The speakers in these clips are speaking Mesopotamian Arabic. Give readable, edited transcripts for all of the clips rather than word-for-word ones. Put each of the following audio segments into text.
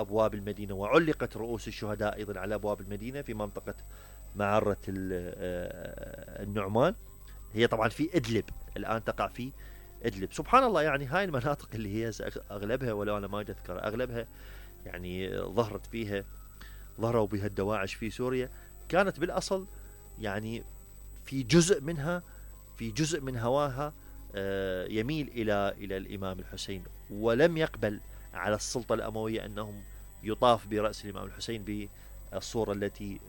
أبواب المدينة، وعلقت رؤوس الشهداء أيضا على أبواب المدينة في منطقة معرة النعمان. هي طبعا في إدلب، الآن تقع في إدلب. سبحان الله، يعني هاي المناطق اللي هي أغلبها، ولو أنا ما أذكر أغلبها، يعني ظهروا بها الدواعش في سوريا، كانت بالأصل يعني في جزء من هواها يميل إلى الإمام الحسين، ولم يقبل على السلطة الأموية أنهم يطاف برأس الإمام الحسين بالصورة التي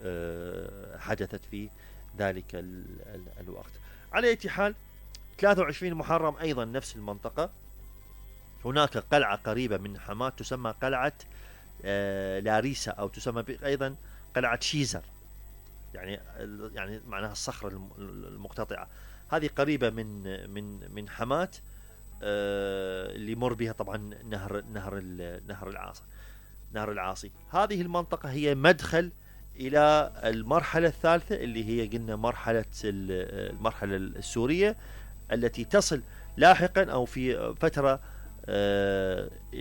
حدثت في ذلك الوقت. على أي حال، 23 محرم أيضا نفس المنطقة، هناك قلعة قريبة من حماة تسمى قلعة لاريسا، أو تسمى أيضا قلعة شيزر، يعني معناها الصخرة المقتطعة. هذه قريبة من حماة، اللي يمر بها طبعا نهر العاصي. هذه المنطقة هي مدخل إلى المرحلة الثالثة، اللي هي قلنا المرحلة السورية، التي تصل لاحقا أو في فترة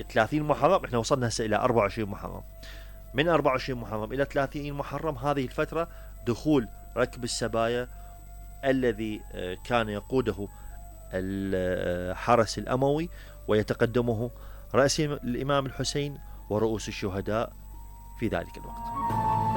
30 محرم. احنا وصلنا هسه إلى 24 محرم. من 24 محرم إلى 30 محرم هذه الفترة دخول ركب السبايا الذي كان يقوده الحرس الأموي، ويتقدمه رأس الإمام الحسين ورؤوس الشهداء في ذلك الوقت.